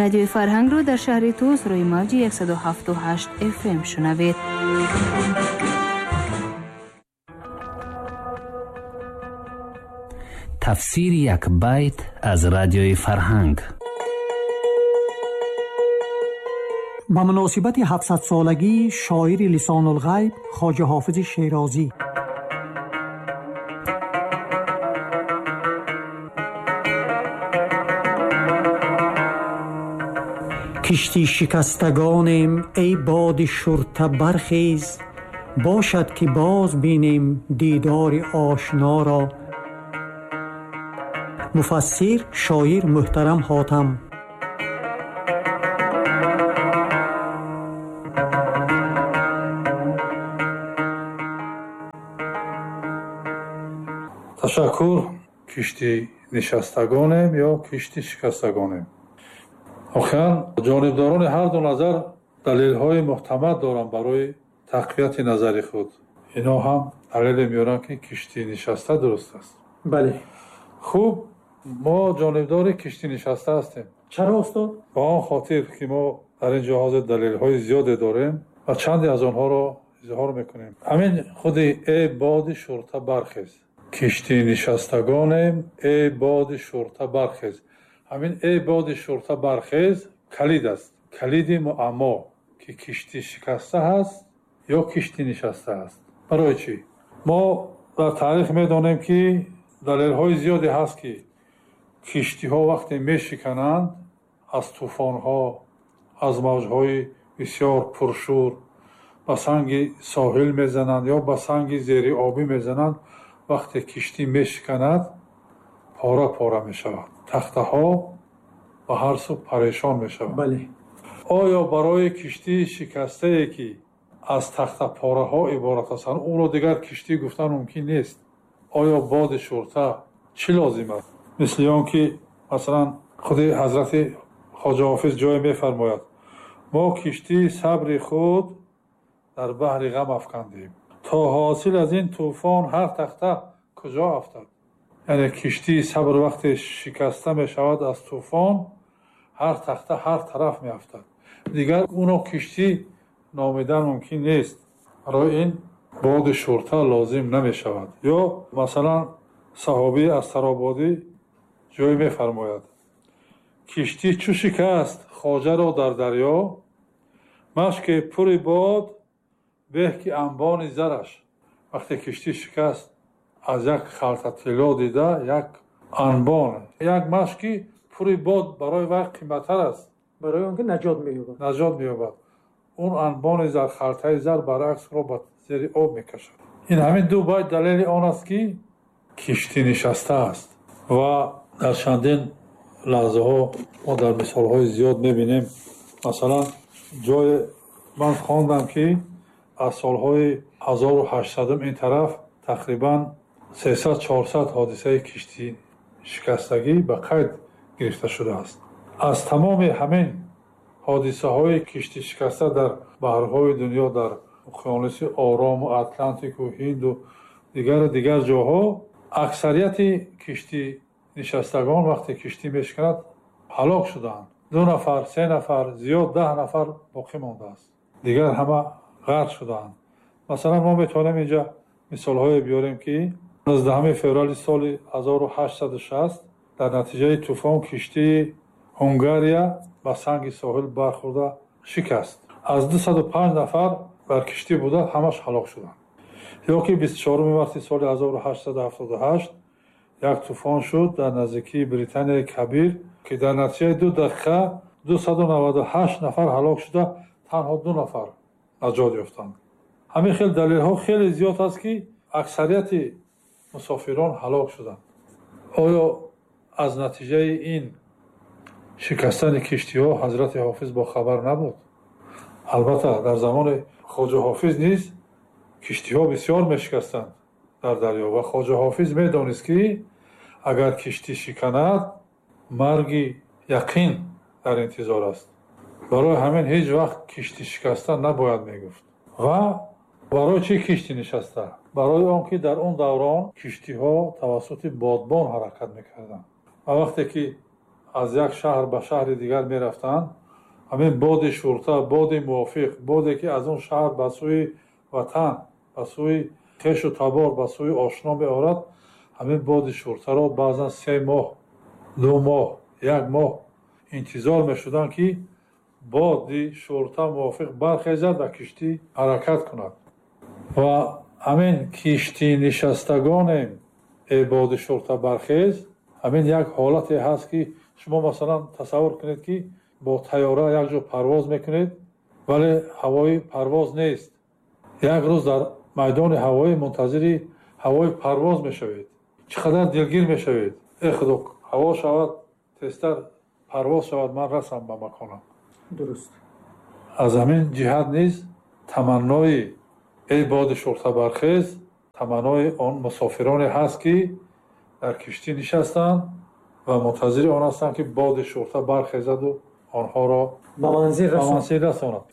Радиои Фарҳангро дар шаҳри Тӯс рӯи мавҷи 107.8 FM шунавед. Тафсири як байт аз Радиои Фарҳанг. Ба муносибати 700-солагии шоири Лисонулғайб Хоҷа Ҳофизи Шерозӣ. Кишти шикастагонем, эй боди шурта бархез, бошад ки боз бинем дидори ошноро. Муфассир шоир муҳтарам Ҳотам. Ташаккур. Кишти нишастагонем ё кишти шикастагонем? Охиран ҷонибдорони ҳар ду назар далелҳои муҳтамад доранд барои тақвияти назари худ. Ино ҳам далеле меоранд, ки кишти нишаста дуруст аст. Бале. Хуб, мо ҷонибдори кишти нишаста ҳастем. Чаро, устод? Ба он хотир ки мо дар ин ҷо ҳозир далелҳои зиёде дорем ва чанде аз онҳоро изҳор мекунем. Ҳамин худи эй боди шурта бархез, кишти нишастагонем, эй боди шурта бархез. Ҳамин эй боди шурта бархез калид аст, калиди муаммо, ки кишти шикаста ҳаст ё кишти нишаста аст. Барои чӣ? Мо дар таърих медонем, ки далелҳои зиёде ҳаст, ки киштиҳо вақте мешикананд аз тӯфонҳо, аз мавҷҳои бисёр пуршӯр ба санги соҳил мезананд ё ба санги зериобӣ мезананд. Вақте киштӣ мешиканад, пора пора мешавад, тахтаҳо ба ҳар сӯ парешон мешаванд. Бале. Оё барои киштии шикастае, ки аз тахтапораҳо иборат ҳастанд, ӯро дигар киштӣ гуфтан мумкин нест? Оё боди шурта чӣ лозим аст? Мисли он ки масалан худи ҳазрати Хоҷа Ҳофиз ҷое мефармояд: мо киштии сабри худ дар баҳри ғам афкандем, то ҳосил аз ин тӯфон ҳар тахта куҷо афтад. Яъне киштии сабр вақте шикаста мешавад аз тӯфон, ҳар тахта ҳар тараф меафтад. Дигар ӯно киштӣ номидан мумкин нест. Барои ин боди шурта лозим намешавад. Ё масалан саҳобии Астарободӣ ҷое мефармояд: киштӣ чу шикаст хоҷаро дар дарё, машке пури бод беҳ ки анбони зараш. Вақте киштӣ шикаст, аз як халта тилло дида як анбон, як машки пури бод барои вай қиматтар аст. Барои он ки наҷот меёбад. Наҷот меёбад. Он анбони зар, халтаи зар баръакс ро ба зери об мекашад. Ин ҳамин ду байт далели он аст, ки киштӣ нишаста аст. Ва дар чандин лаҳзаҳо мо дар мисолҳои зиёд мебинем. Масалан, ҷое ман хондам, ки аз солҳои 1800 ин тараф тақрибан 300-400 ҳодисаи киштӣ шикастагӣ ба қайд гирифта шудааст. Аз тамоми ҳамин ҳодисаҳои киштӣ шикаста дар баҳрҳои дунё, дар уқёнуси Орому Атлантику Ҳинду дигару дигар ҷоҳо, аксарияти киштӣ нишастагон вақте киштӣ мешиканад ҳалок шудаанд. 2 нафар, 3 нафар, зиёд 10 нафар боқӣ мондааст. Дигар ҳама ғарқ шудаанд. Масалан, мо метавонем инҷа мисолҳое биёрем, ки 19 феврали соли 1860 дар натиҷаи тӯфон киштии Ҳунгария ба санги соҳил бархӯрда шикаст. Аз 205 нафар бар киштӣ буда ҳамаш ҳалок шуданд. Ё ки 24 марти соли 1878 як тӯфон шуд дар наздикии Британияи Кабир, ки дар натиҷаи 2 дақиқа 298 нафар ҳалок шуда, танҳо 2 нафар наҷот ёфтанд. Ҳамин хел далелҳо хеле зиёд аст, ки аксарияти мусофирон ҳалок шуданд. Оё аз натиҷаи ин шикастани киштиҳо ҳазрати Ҳофиз бохабар набуд? Албатта, дар замони Хоҷа Ҳофиз низ киштиҳо бисёр мешикастанд дар дарё ва Хоҷа Ҳофиз медонист, ки агар киштӣ шиканад, марги яқин дар интизор аст. Барои ҳамин ҳеҷ вақт киштӣ шикаста набояд мегуфт. Ва барои чӣ киштӣ нишаста? Барои он ки дар он даврон киштиҳо тавассути бодбон ҳаракат мекарданд ва вақте ки Аз як шаҳр ба шаҳри дигар мерафтанд, ҳамин боди шурта, боди мувофиқ, боде ки аз он шаҳр ба сӯи ватан, ба сӯи хешу табор, ба сӯи ошно меорад, ҳамин боди шуртаро баъзан 3 моҳ, 2 моҳ, як моҳ интизор мешуданд, ки боди шурта мувофиқ бархезад ва киштӣ ҳаракат кунад. Ва ҳамин киштӣ нишастагонем, эй боди шурта бархез, ҳамин як ҳолате ҳаст, ки шумо масалан тасаввур кунед, ки бо тайёра як ҷо парвоз мекунед, вале ҳавои парвоз нест. Як рӯз дар майдони ҳавоӣ мунтазири ҳавои парвоз мешавед, чӣ қадар дилгир мешавед: э худо, ҳаво шавад, тезтар парвоз шавад, ман расам ба маконам. Аз ҳамин ҷиҳат низ таманнои эй боди шурта бархез таманнои он мусофироне ҳаст, ки дар киштӣ нишастанд ва мунтазири он ҳастанд, ки боди шурта бархезаду онҳоро ба манзил расонад.